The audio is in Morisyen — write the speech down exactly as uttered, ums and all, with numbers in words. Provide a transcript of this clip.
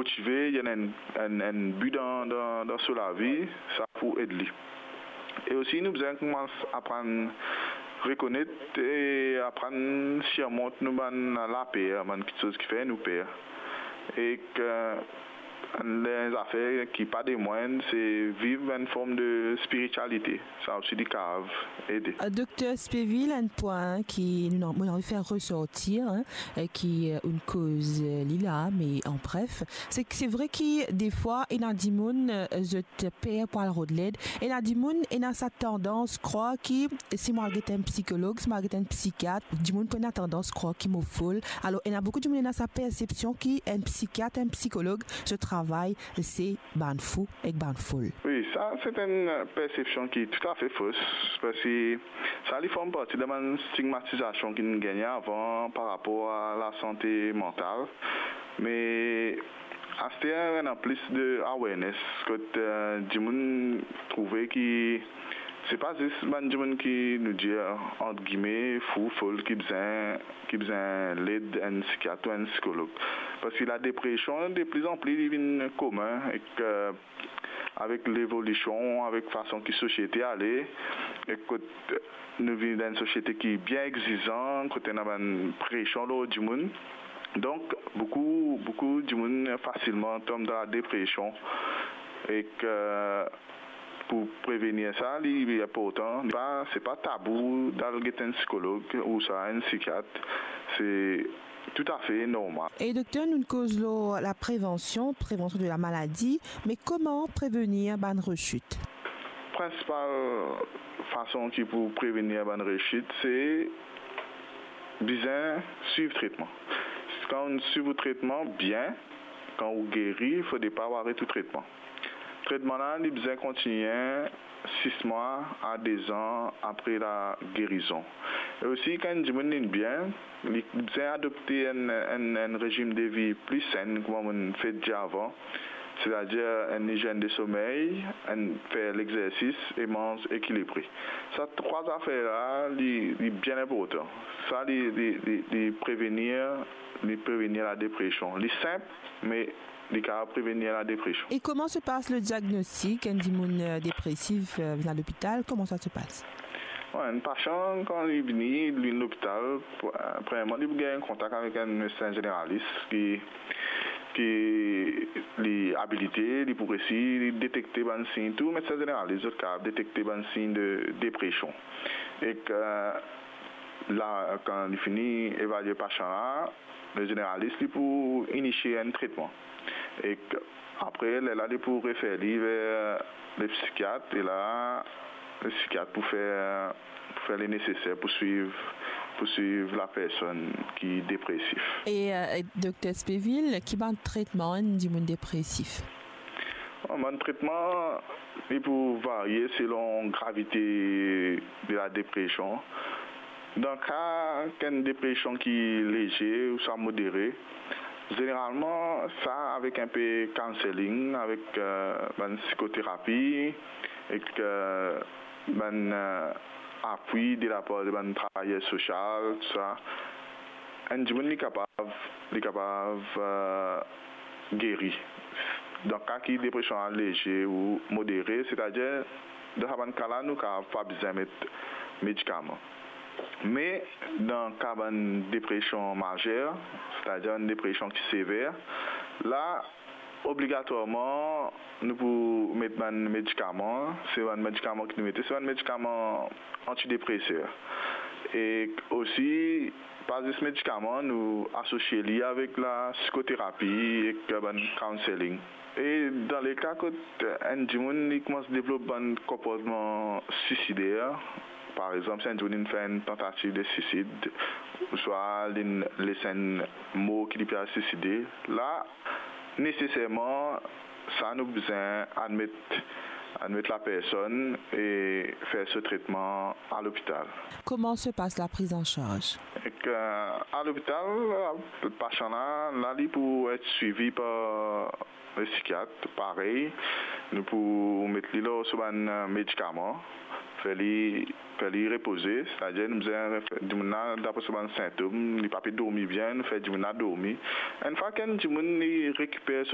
motive, li ena enn, enn, enn bi dan, dan, dan so lavi, sa pou ed li. E osi, nou bizin koumans aprann rekonet e aprann sirmont nou bann laper, bann kiksoz ki fer nou per. Ek enn zafer ki pa de mwin, se viv enn form de spiritialite. Sa osi, li kapav ede. Euh, Dokter Spevil, enn pwin ki nou, nou anvi fer resortir, hein, e ki, euh, nou koz, euh, li la, me an bref, se ki se vre ki defwa, ena dimoun, euh, zot per pou al rod led, ena dimoun ena sa tandans krwar ki si mo al get enn psikolog, si mo al get enn psikiat, dimoun pou ena tandans krwar ki mo fol. Alor, ena boukou dimoun ena sa persepsion ki enn psikiat, enn psikolog, so travay se bann fou ek bann fol. Wi, sa se enn persepsion ki toutafe fos, parski sa li form parti dan bann stigmatizasion ki nou gagne avan par rapor a lasante mantal. Me aster, ena plis de awareness, kot, euh, dimoun trouve ki se pa zis bann dimoun ki nou dir, ant gime, fou, fol, ki bizin, ki bizin led enn psikiat ou enn psikolog. Parski ladepresion, de pli an pli, li vinn komin ek, euh, avek levolision, avek fason ki sosiete ale, ek kot nou vinn dan enn sosiete ki bien egzizan, kot ena bann presion lor dimoun. Donk, boukou, boukou dimoun fasilman tonm dan ladepresion. Ek, euh, pou prevenir sa, li, li inportan. Pa, se pa tabou dal get enn psikolog ouswa enn psikiat. Se toutafe normal. E dokter, nou koz lor laprevansion, prévention de la maladie, me kouma prevenir bann resit? Prinsipal fason ki pou prevenir bann resit, se bizin swiv tretman. Kan ou swiv ou tretman bien, kan ou geri, fode pa ou aret ou tretman. Tretman la, li bizin kontigne sis mwa a de zan apre lagerizon. E osi, kan enn dimoun li bien, li bizin adopte enn, enn, enn rezim de vi pli senn, kouma mo finn dir avan, setadir enn lizienn de somey, enn fer lexersis e manz ekilibre. Sa trwa zafer la, li, li bien inportan. Sa, li, li, li, li prevenir, li prevenir ladepresion. Li sinp, me li kapav prevenir ladepresion. Et comment se passe le diagnostic? Enn dimoun, euh, dépressif, euh, vinn a lopital, comment ça se passe? Bon, enn pasian, kan li vini, li vinn lopital, pr-, premierman, li pou gagn kontak avek enn medsin zeneralis ki, ki li abilite, li pou resi detekte bann sign. Tou medsin zeneralis, zot kapav detekte bann sign de depresion. Ek, euh, la, kan li fini evalie pasian la, le zeneralis, li pou inisie enn tretman. Ek apre, lerla, li pou refer li ver le psikiat, e la, le psikiat pou fer, pou fer le neseser pou swiv, pou swiv lapersonn ki depresif. E, euh, Dokter Spevil, ki bann tretman enn dimoun depresif? Bon, bann tretman, li pou varie selon gravite de ladepresion. Dan ka ki enn depresion ki leze ouswa modere, zeneralman, sa avek enpe counselling, avek, euh, bann psikoterapi, ek, euh, bann, euh, apui de lapar de bann travayer sosial, tou sa. Enn dimoun, li kapav, li kapav, euh, geri. Dan ka ki depresion la leze ou modere, setadir dan sa bann ka la, nou kapav pa bizin met medikaman. Me dan ka bann depresion mazer, setadir enn depresion ki sever, la, obligatwarman, nou pou met bann medikaman. Se bann medikaman ki nou mete, se bann medikaman antidepreser. E osi, pa zis medikaman, nou asosie li avek lapsikoterapi ek bann counselling. E dan le ka kot enn dimoun, li koumans devlop bann konportman suisider, par exanp, si enn dimoun inn fer enn tantativ de suisid, ouswa li inn les enn mo ki li pe al suiside, la, neseserman, sa nou bizin admet, admet lapersonn e fer so tretman a lopital. Comment se passe la prise en charge? Ek, euh, a lopital, pasian la, la, li pou et swivi par le psikiat, parey, nou pou met li lor so bann, euh, medikaman, fer li, fer li repoze, setadir nou bizin fer dimoun la, dapre so bann sintom, li pa pe dormi bien, nou fer dimoun la dormi. Enn fwa ki enn dimoun li rekiper so